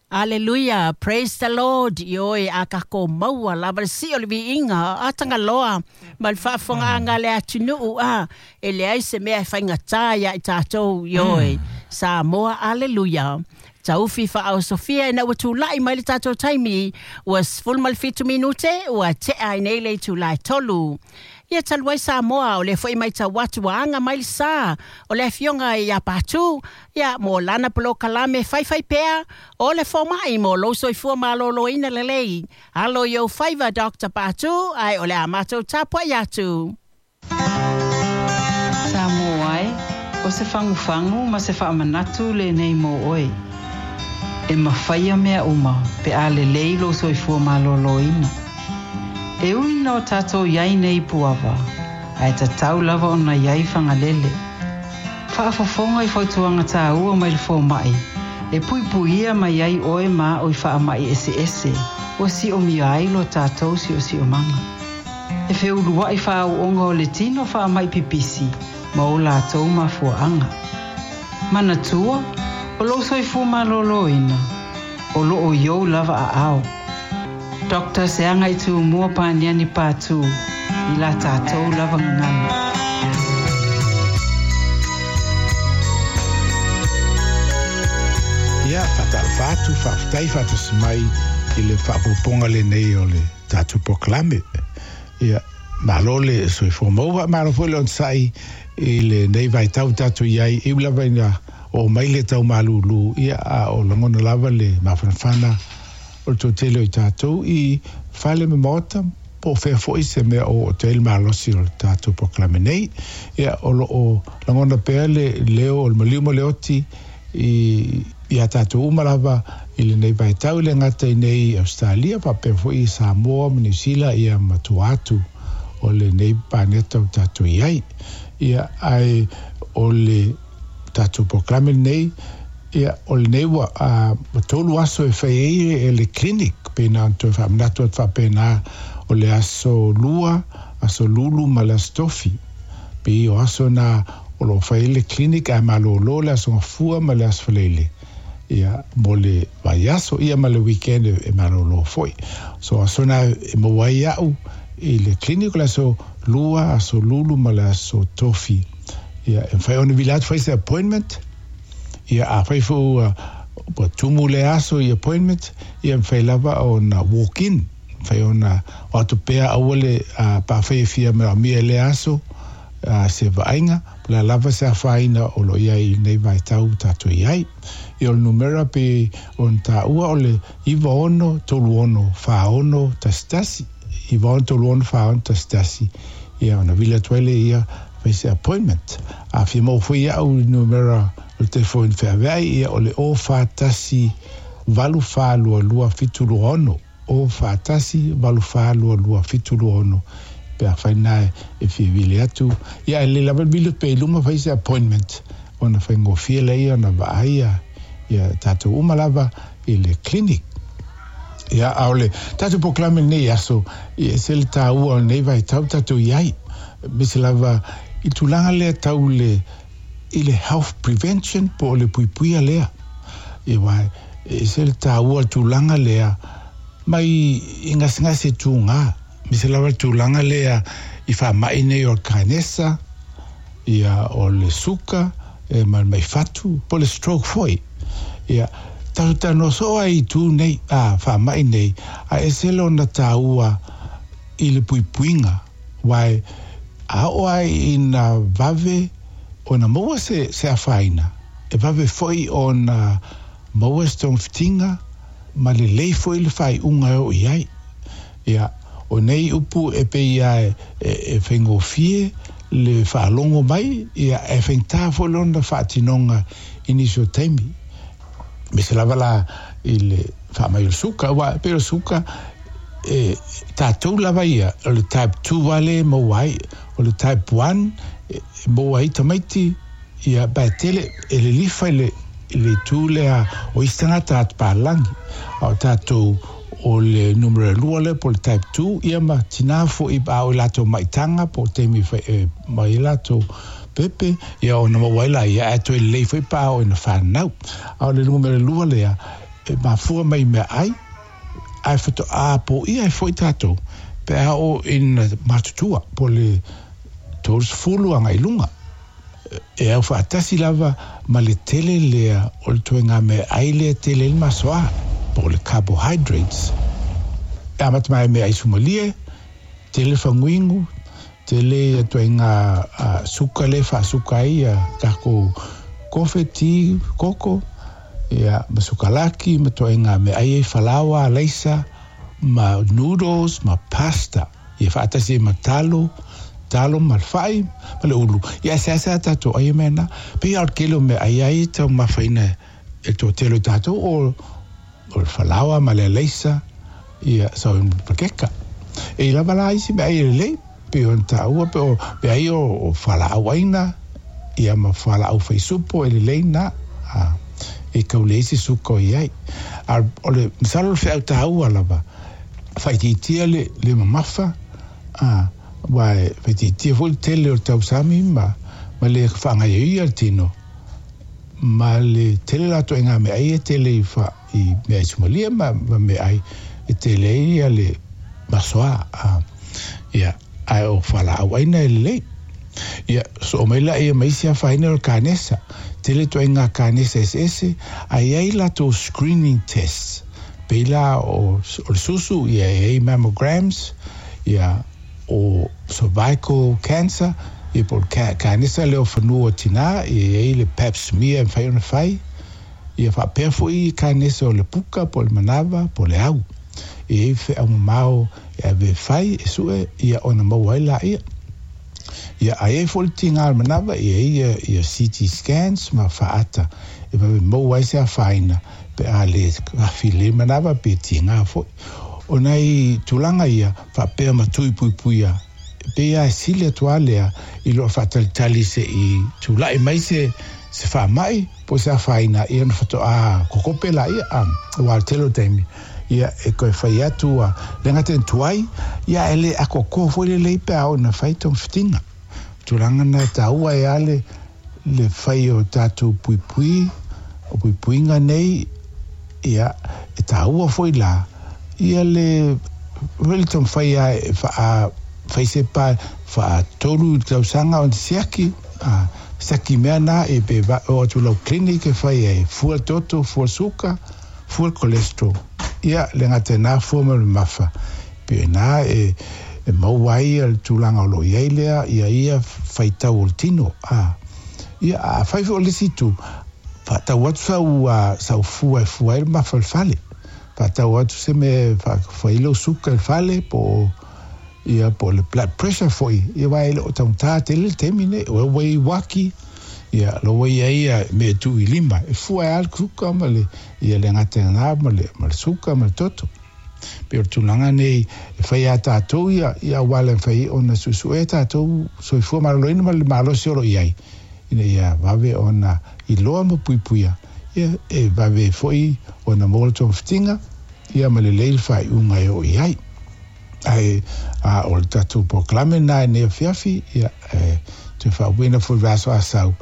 Aleluia, praise the Lord. Ioe, a tatou maua lava le sii o le viiga a Tagaloa ma le faafofogaaga a le atunuu, a e leai se mea e faigata iā i tatou. Ioe, Samoa, aleluia. Taufi faaosofia ina ua tula'i mai le tatou taimi ua 17 minute ua te'a ai nei le itulā e 3. Ia talu ai Samoa, o lea foi maitau atu ua aga mai le sā o le afioga iā Patu, ia mo lana polokalame Faifaipea o le Fomai mo lou soifua malōlōina lelei. Alo i ou faiva, Dr. Patu, ae o le a matou tapua'i atu. Samoa e, o se fagufagu ma se faamanatu lenei mo oe. E mafaia mea uma pe a lelei lou soifua malōlōina. E ui ina o tatou i ai nei i Puava, ae tatau lava ona i ai Fagalele. Faafofoga i fautuaga tāua mai le fomai e puipuia mai ai oe ma a'u i faamai eseese ua siomia ai lo tatou siosiomaga. E feulua'i faaauoga o le tino faamai pipisi ma o latou mafuaaga. Manatua, o lou soifua malōlōina, o loo i ou lava aao. Doctor Seagaitūmua Paniani Patu i la tatou lava gagana. Ia, faatalofa atu, faafetai faatasi mai i le faaopoopoga lenei o le tatou polokalame. Ia, malo le soifua maua, malo foi le onosai i lenei vaitau tatou i ai, e ui lava ina oo mai le tau malūlū, ia, a o lagona lava le mafanafana o le toatele o i tatou i fale ma maota, po o fea foi se mea o oo atu ai le malosi o le tatou polokalame nei. Ia, o lo o lagona pea le leo o le maliu ma le oti i iā tatou uma lava i lenei vaitau, e le gata i nei i Ausetalia, faapea foi i Samoa ma Niu Sila, ia ma tua atu o lenei paneta o tatou i ai. Ia, ae o le tatou polokalame lenei, ia, o lenei ua, ua 3 aso e fai ai e le clinic, pei na ona toe faamanatu atu faapena, o le aso Lua, aso Lulu ma le aso Tofi. Pei o aso na o lo o fai ai le clinic ae malōlō le aso Gafua ma le aso Faraile, ia, mo le vaiaso, ia ma le weekend e malōlō foi. So aso na e maua ai a'u i le clinic o le aso Lua, aso Lulu ma le aso Tofi. Ia, e mafai ona vili atu fai se appointment. Ia, afai foi ua, ua tumu lea aso i appointment, ia e mafai lava ona walk in. Mafai ona o atu pea aua le, pe afai e fia manaomia i lea aso, se vaaiga, po o le a lava se afaina o lo o i ai i lenei vaitau ua tatou i ai. Ia o le numera pei ona taua o le 96 36 46 11, 96 36 11, ia ona vili atu ai lea ia fai se appointment. A fia maua foi iaʻu i le numera o le telefoni feaveai, ia o le 041 8422 726. 0 41 8422 726 pe afai na e fia vili atu. Ia ae lelei lava le vili atu pea i luma fai se appointment ona faigofie lea ona vaai ia tatou uma lava i le clinic. Ia a o le tatou polokalame lenei aso, e ese le taua o lenei vaitau tatou i ai, aemaise lava i tulaga lea tau le i le health prevention po o le puipuia lea. Ia aua e ese le taua o le tulaga lea mai i gasegase tugā, aemaise lava le tulaga lea i faamai nei o le kanesa, ia o le suka, e ma le mai fatu, po o le stroke foi. Ia, tatou talanoa soo ai i itu nei, a, faamai nei, a ese lona taua i le puipuiga, aua a oo lava ina vave ona maua se, se afaina, e vave foi ona maua se togafitiga ma lelei foi le faaiuga e oo i ai. Ia, o nei upu e pei lava e faigofie le faalogo mai, ia, e faigata foi lona faatinoga i nisi o taimi. Aemaise lava la i le faamai o le suka, aua e pei o le suka, e tatou lava ia, o le type 2 lava lea e maua ai, o le type 1 e maua ai tamaiti, ia, ba e tele, e lilifa i le, i le itu lea o isi tagata atupalagi, a o tatou o le numera 2 lea po o le type 2, ia ma tina foi a o i latou maitaga po o taimi e mai ai latou pepe, ia ona maua ai laia, ae toe lelei foi pa oo ina fanau. A o le numera 2 lea, e mafua mai i meaai, ae faatoa poia ai foi tatou pe a oo ina matutua po o le 30 agai i luga. E au faatasi lava ma le tele lea o le ituaiga meaai lea e tele ai le masoa, po o le carbohydrates. E amata mai i meaai sumalie, tele faguinu, tele ia ituaiga suka lea e faasuka ai ia tatou kofe, ti, koko, ia ma sukalaki ma ituaiga meaai ai falaoa, alaisa, ma noodles ma pasta, ia faatasi ai ma talo, talo ma le fai ma le ulu. Ia ae seasea tatou ai mea na. Pei lava o le tele o meaai lava ia e taumafaina e le toatele o tatou o le falaoa ma le alaisa, ia sau ma pakeka. E i lava la isi meaai e lelei, pei ona taua pe o meaai o fualaau aina, ia ma fualaau faisupo e lelei na, e tau leai se suka o i ai. A o le masalo o le feau taua lava, faaitiitia le le mamafa, a, aua e faaitiitia foi le tele o le tausami ma ma le faagaioia le tino, ma le tele la o ituaiga meaai e tele i fa i meaai sumalia ma ma meaai e tele ai ia le masoa, a, ia, ae o fualaau aina e lelei. Ia, soo mai laia ma isi afaina o le kanesa. Tele ituaiga kanesa eseese, ae i ai latou screening tests. Pei la o, o le susu, ia e i ai mammograms, ia o cervical cancer, ia po o le kanesa lea o fanua o tina, ia e i ai le pap smear e mafai ona fai. Ia faapea foi kanesa o le puka po o le manava po o le au. E i ai feau mamao e ave e fai, e sue, ia ona maua ai laia. Ia, a i ai foi le tiga o le manava, e i ai ia, ia CT scans ma faata e vave maua ai se afaina pe a le afi lelei manava pe tiga foi. O nai tulaga ia faapea ma tui puipuia, e pei lava e sili atu lava lea i loo faatalitali se i tulai mai se se faamai po o se afaina ia ona faatoa kokope laia, a, aua o le tele o taimi ia e toe fai atu ua le gata ina tuai, ia ae le atoatoa foi lelei pe a oo ina fai togafitiga. O tulaga na e taua ai lava le le fai o tatou puipui, o puipuiga nei, ia e taua foi la ia le le taumafai lava e faa fai se pa faatolu tausaga ona siaki, a, siaki mea na e pe oo atu i lau clinic e fai ai, fua toto, fua suka, fua cholesterol. Ia, le gata i na fua ma le mamafa, pei o ina e e maua ai le tulaga o lo o i ai lea ia ia faitau o le tino, a. Ia, a fai foi o le isi itu, faatau atu sau, sau fua e fua ai le mamafa i le fale. Faatau atu se mea e fai ai lou suka i le fale po o ia po o le blood pressure foi, ia aua e le o taugata tele le taimi nei, o ua i ai uaki, ia o la ua i ai ia mea e tuu i lima, e fua ai lava le suka ma le, ia le gata i lena ma le, ma le suka ma le toto. Pei o le tulaga nei e fai a tatou ia, ia auala e mafai ai ona suesuea tatou soifua maloloina ma le malosi o lo o i ai, ina ia vave ona iloa ma puipuia, ia e vave ai foi ona maua le togafitiga, ia ma lelei le faaiuga e oo i ai. Ae a o le tatou polokalame lena i lenei afiafi, ia, e toe faauiina foi i le vaiaso a sau,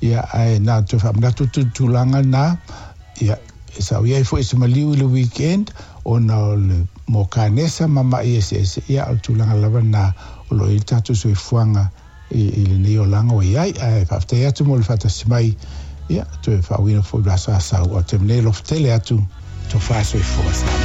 ia, ae na ona toe faamanatu atu i le tulaga lena, ia, e sao i ai foi se maliu i le weekend, ona o le mo kanesa ma ma'i eseese, ia, o le tulaga lava lena o lo o i ai le tatou soifuaga i, i lenei olaga ua i ai. Ae faafetai atu mo le faatasi mai, ia, toe faauiina foi i le vaiaso a sau. O le taimi nei, alofa tele atu, tofa soifua Samoa.